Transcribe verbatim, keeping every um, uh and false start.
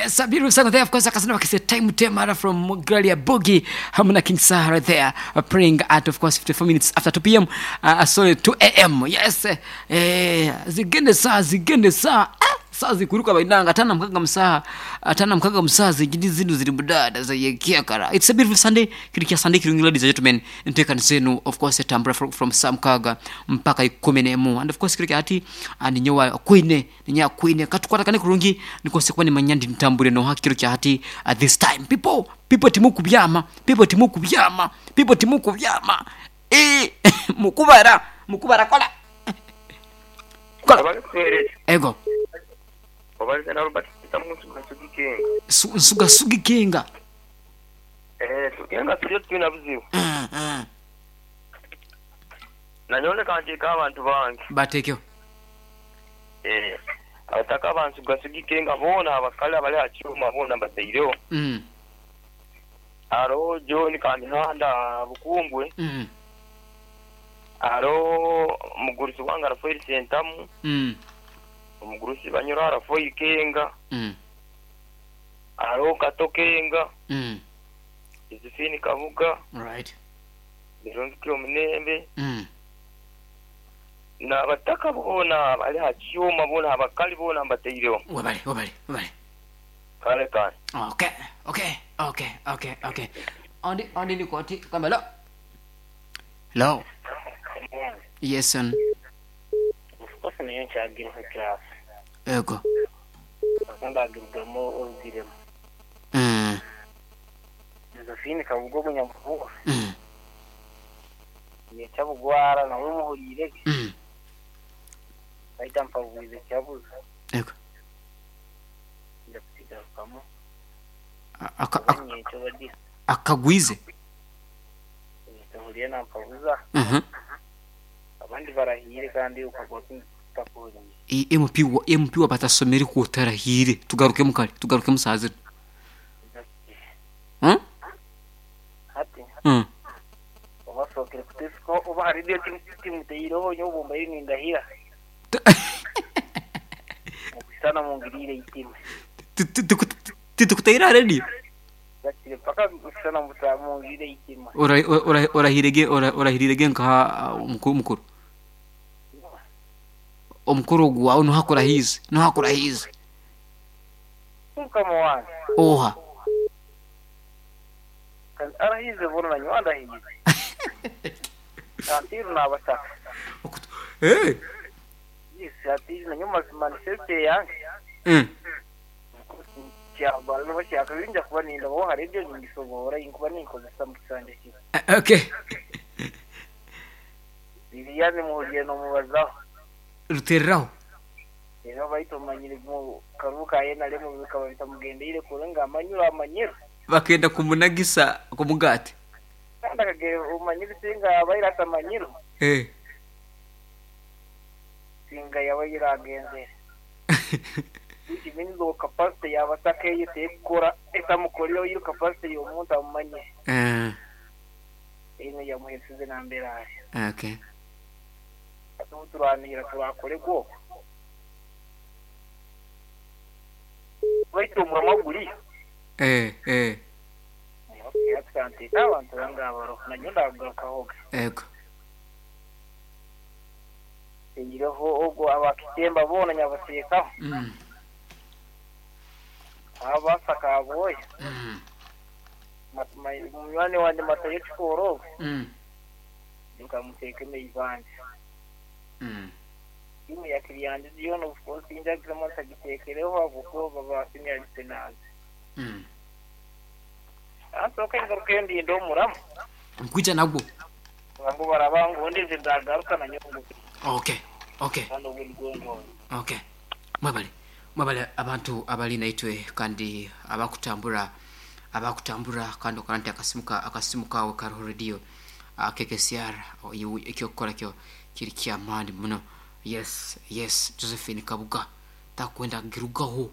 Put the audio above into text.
Yes, a beautiful song there. Of course, akasana bakise Time Temara from Gloria Boogie hamwe na King Saha right there, uh, praying at, of course, fifty-four minutes after two p m. Uh, sorry, two a m. Yes. Eh, zigende saa, zigende saa. Ah, saa zikuruka bainanga atana mkaga msaha atana mkaga msaha zigidi zinu ziri budada zayekiakara. It's a beautiful Sunday, kiri kya Sunday kirungi. Ladies and gentlemen, ntekani zenu, of course, tambura from, from saa mkaga mpaka ikumi n'emu, and of course kiri ati ninyowa kwine ninya kwine katukwata kurungi nikose kuba nimanya ndi ntambure no hakiro kya hati. At this time, people people timukubyama, people timukubyama, people timukubyama, eh mukubara mukubara kola kola. Abalikuhereza. Ego. Obaliza na Robert tamusuga sugikenga. Su- nsuga sugikenga. Eh, tukenga tulio tulina buzibu. Mm, mm. Nanyone kanteeka abantu bange. Bateekeo. Eh, abataka bansuga sugikenga boona, abakale abali akyuma boona mbataireho. mm. Aro John Kamihanda Bukumbwe. Mm. Aro omugurusi wange Rafael Sentamu. Mm. Omugurusi Banyoro Rafael Kenga. Mm. Aro Kato Kenga. Mm. Josephine Kabuga. Right. Birungi Omunembe. mm. N'abataka boona bali ha kyuma boona, abakali boona mbataireho. Webale, webale, webale. Kale kale. okay okay okay okay okay ondi ondi nikoti kamba lo lo. Yes, son. Of course, nayo nkyagireka class. Ego. Ndagirugamo orugiremu. mm. Josephine Kabugo Munyamuhugo. Mm. Yekyabugwara nawe muhuriire. Mm. Baita mpabuize kyabuza. Ego. Nja kukigarukamo. Aka- aka- Nyekyo badi. Akagwize. Tuhuriye nampabuza. Mhm. Abandi barahire kandi ukagwa kutakuhuriye. I- M P wa M P wa batasomere kutarahire, tugarukemu kale, tugarukemu saa zino. Hmm? Hati Mm. obasookere kutesiko oba hari ibyo timuteireho nyobumba nindahira mukusana mungirire itima. Titukutaira radio. Gakire paka kusana muta mungirire itima. Orahirege, orahirirege nka omukuru mukuru omukuru gwawe nohakurahize nohakurahize. Mukama wange. Oha? Kandi arahize bona nanyo andahize atiru nabasaka. Eh. Yes, atiru nanyo manifesto yange. Mm. Kyabala nobashaka binja kuba ninda bo hari ibyo ningisobora inkuba ninkozesa mu kisanja kibi. Eh, okay Liliane muhuriye nomubazaho. Rutereraho. Rero baitumanyire mu karuka ye nalemo bikaba bitamugendeire kure nga amanyura amanyiro. Bakenda kumunagisa kumugati. Kandi akagera umanyire singa abairata amanyiro. Eh. Singa yaba yiragenzere which means the capacity yabataka tekora etamukorero iyo capacity y'omuntu amumanye. Eh. Ino yamuhesize nambere ari. Okay atubu turanira turakore gwo baitu omurama guri. Eh eh. Asante abantu bangabaro nanyo ndagarukahoga. Ego. Engireho ogwo abakitemba bona nyabasekaho. mm. Abasaka aboya. Mm. Munywani wanje matayo kikoro. Mm. Nkamuteeka emeivanje. Mm. Timu yakiriyanje yona, of course injagiramo ntagitekereho abuko babasinyarise nabi. Mm. Ansoka ingaruka yo ndinda omuramu. Nkwija nagwo. Ngo baraba nze ndagaruka nanyo okay okay kandi obuli. Okay, mwebale, mwebale abantu abali naitwe kandi abakutambura abakutambura kandi okora nti akasimu ka- akasimu kawe kariho radio uh, K K C R, ekyokukora kyo kiri kyamaani muno. Yes yes, Josephine Kabuga takwenda girugaho.